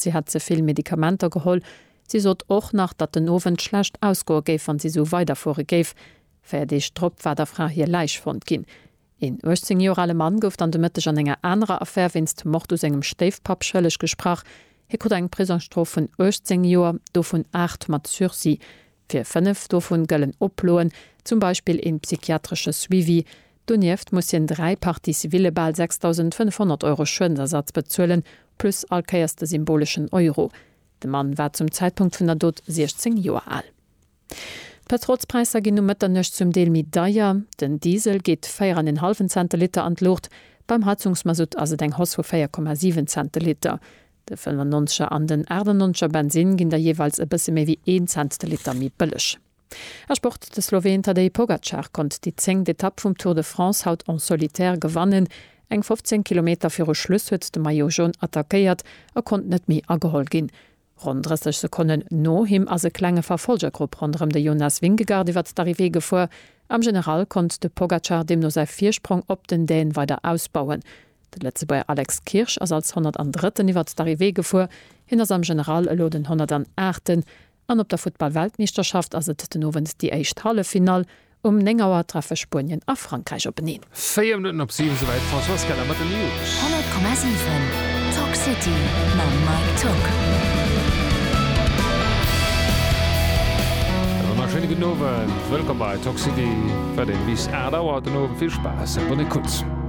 sot, si hätt ze vill Medikamenter geholl. Si sot och nach, datt den Owend schlecht ausgoe géif, wann si esou weiderfuere géif. 4 Deeg drop war der Fra hir Läich fonnt ginn. Een 18 Joer ale Mann gouf dann de Mëtteg an enger anerer Affär wéinst Mord u sengem Stéifpapp schëlleg gesprach. Hie krut eng Prisongsstrof vun 18 Joer, dovun 8 mat Sursis. Fir 5 dovun gëllen Oploen, zum Beispill een psychiatresche Suivi. Donieft muss hien 3 Parties civile bal 6.500 Euro Schuedensersatz bezuelen, plus all Kéiers de symboleschen Euro. De Mann war zum Zäitpunkt vun der Dot 16 Joer al. D'Pëtrolspräisser ginn um Mëtternuecht zum Deel méi deier. Den Diesel geet 4 an en hallwen Cent de Liter an d'Luucht, beim Heizungsmasutt ass et eng Hausse vu 4,7 Cent de Liter. De 95er an den 98er Bensinn ginn da jeeweils e bësse méi wéi een Cent de Liter méi bëlleg. A Sport, De Sloween Tadej Pogacar konnt déi zéngt Etapp vum Tour de France haut en solitaire gewannen. Eng 15 Kilometer viru Schluss huet de Maillot Jaune attackéiert a konnt net méi ageholl ginn. Ronn 30 Sekonnen no him ass e klenge Verfolgergrupp ronderëm de Jonas Vingegaard iwwer d'Arrivée gefuer. Am General konnt de Pogacar deemno säi Virsprong op den Dän weider ausbauen. De Lëtzebuerger Alex Kirsch ass als 103. iwwer d'Arrivée gefuer. Hien ass am General elo den 108. An op der Futtball-Weltmeeschterschaft ass et den Owend déi éischt Halleffinall. Um 9 Auer treffe Spuenien a Frankräich openeen. 4 Minutten op 7, souwäit d'Françoise Keller mat den News. 100,7 Talk City mam Mike Tock. E wonnerschéine gudden Owend, wëllkomm bei Talk City, wat een bis 8 Auer den Owend. Vill Spaass a bonne écoute.